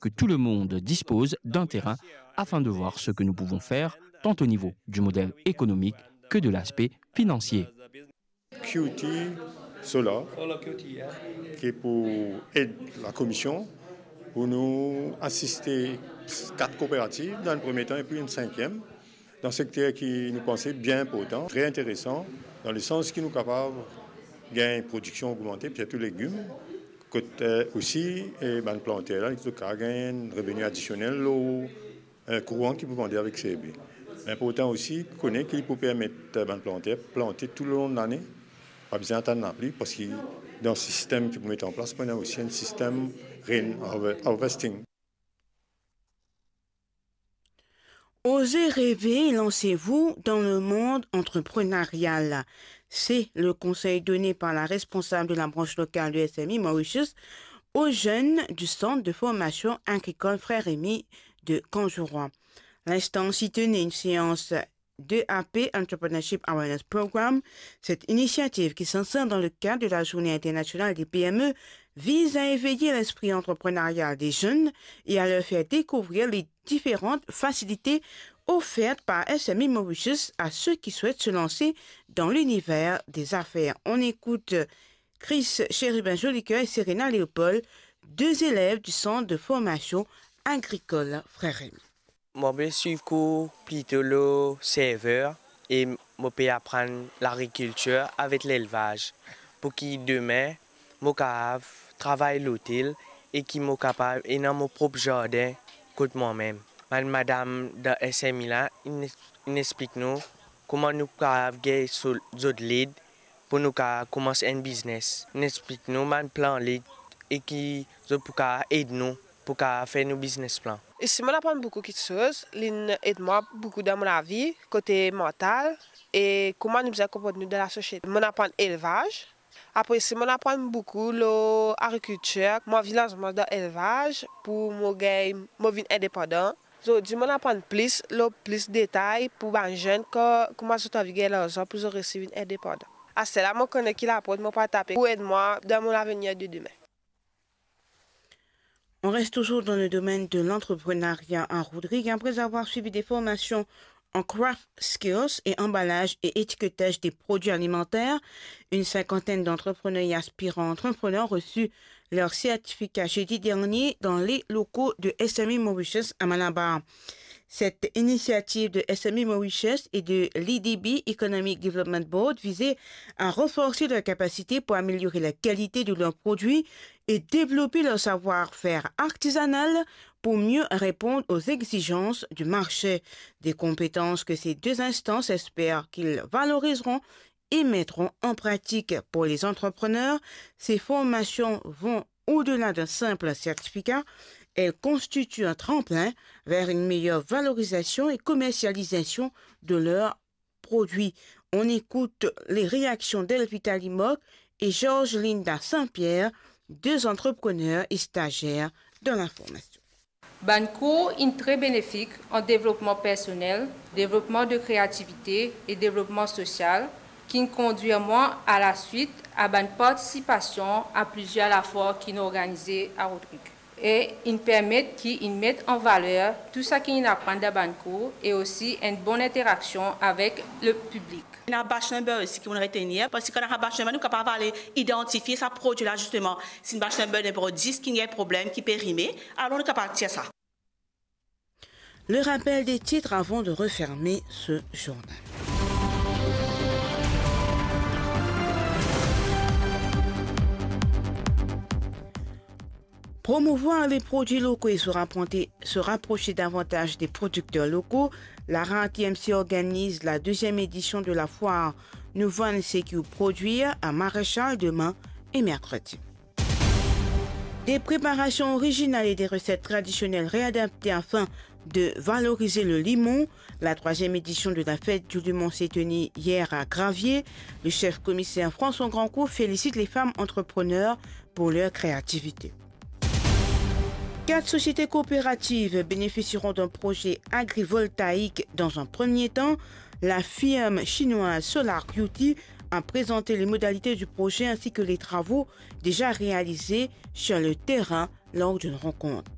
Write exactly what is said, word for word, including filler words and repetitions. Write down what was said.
que tout le monde dispose d'un terrain afin de voir ce que nous pouvons faire, tant au niveau du modèle économique que de l'aspect financier. Q T Solar, ki pou ed la komision pou nou asiste kat kooperativ dan enn premie tan epi enn sinkiem dan sekter ki nou panse bien inportan, tre interesan, dan lesans ki nou kapav gagn prodiksion ogmante, sirtou legim, kot osi bann planter la, zot kapav gagn enn reveni adisionel lor kouran ki pou vande avek serbi. Inportan osi kone ki li pou permet bann planter plante tou lelong lane, pa bizin atann lapli, parski dan sistem ki pou met an plas, pou ena osi enn sistem rain harvesting. Osez rêver, lancez-vous dans le monde entrepreneurial. C'est le conseil donné par la responsable de la branche locale de S M I Mauritius aux jeunes du centre de formation agricole Frère Rémy de Cangeroi. L'instance y tenait une séance de A P Entrepreneurship Awareness Program. Cette initiative, qui s'insère dans le cadre de la Journée internationale des P M E, vise à éveiller l'esprit entrepreneurial des jeunes et à leur faire découvrir les différentes facilités offertes par S M I Mauritius à ceux qui souhaitent se lancer dans l'univers des affaires. On écoute Chris Chérubin Jolicoeur et Serena Léopold, deux élèves du centre de formation agricole Frère Rémy. Mo pe swiv kour plito lor server e mo pe aprann lagrikiltir avek lelvaz, pou ki demin mo kapav travay lotel e ki mo kapav ena mo prop zardin kot mwa mem. Bann madam dan S M I la, inn, inn explik nou kouma nou kapav gagn so, zot led pou nou kapav koumans enn biznes. Inn explik nou bann plan led e ki zot pou kapav ed nou pou kapav fer nou biznes plan. Isi mo'nn aprann boukou kiksoz, li'nn ed mwa boukou dan mo lavi, kote mantal e kouma nou bizin konport nou dan lasosiete. Mo'nn aprann elvaz, apre isi mo'nn aprann boukou lor agrikiltir. Mo anvi lans mwa dan elvaz pou mo gagn, mo vinn indepandan. Zordi mo'nn aprann plis lor plis detay pou bann zenn, kouma zot anvi gagn larzan pou zot resi vinn indepandan. Aster la mo kone ki laport mo pou al tape pou ed mwa dan mo lavenir de demin. On reste toujours dans le domaine de l'entrepreneuriat à Rodrigues. Après avoir suivi des formations en craft skills et emballage et étiquetage des produits alimentaires, une cinquantaine d'entrepreneurs et aspirants entrepreneurs reçut leur certificat jeudi dernier dans les locaux de S M I Mauritius à Malabar. Cette initiative de S M I Mauritius et de l'I D B, Economic Development Board, visait à renforcer leur capacité pour améliorer la qualité de leurs produits et développer leur savoir-faire artisanal pour mieux répondre aux exigences du marché. Des compétences que ces deux instances espèrent qu'ils valoriseront et mettront en pratique. Pour les entrepreneurs, ces formations vont au-delà d'un simple certificat. Elles constituent un tremplin vers une meilleure valorisation et commercialisation de leurs produits. On écoute les réactions d'Elvita Limoc et Georges Linda Saint-Pierre, deux entrepreneurs et stagiaires dans la formation. Bann kour inn tre benefik an devlopman personel, devlopman de kreativite e devlopman sosial, ki'nn kondwir mwa alaswit a bann partisipasion a plizier lafor ki'nn organize a Rodrigues. E inn permet ki inn met an valer tou saki inn aprann dan bann kour e osi enn bonn interaksion avek le piblik. Ena batch number osi ki mo'nn retenir, parski kan ena batch number, nou kapav al idantifie sa prodwi la, zisteman. Si enn batch number nimero dis ki ena problem, ki perime, alor nou kapav tir sa. Le rappel des titres avant de refermer ce journal. Promouvoir les produits locaux et se rapprocher, se rapprocher davantage des producteurs locaux, la RAA T M C organise la deuxième édition de la foire Nou vann seki ou prodwir à Maréchal demain et mercredi. Des préparations originales et des recettes traditionnelles réadaptées afin de valoriser le limon. La troisième édition de la fête du limon s'est tenue hier à Gravier. Le chef commissaire François Grandcourt félicite les femmes entrepreneurs pour leur créativité. Quatre sociétés coopératives bénéficieront d'un projet agrivoltaïque dans un premier temps. La firme chinoise Solar Beauty a présenté les modalités du projet ainsi que les travaux déjà réalisés sur le terrain lors d'une rencontre.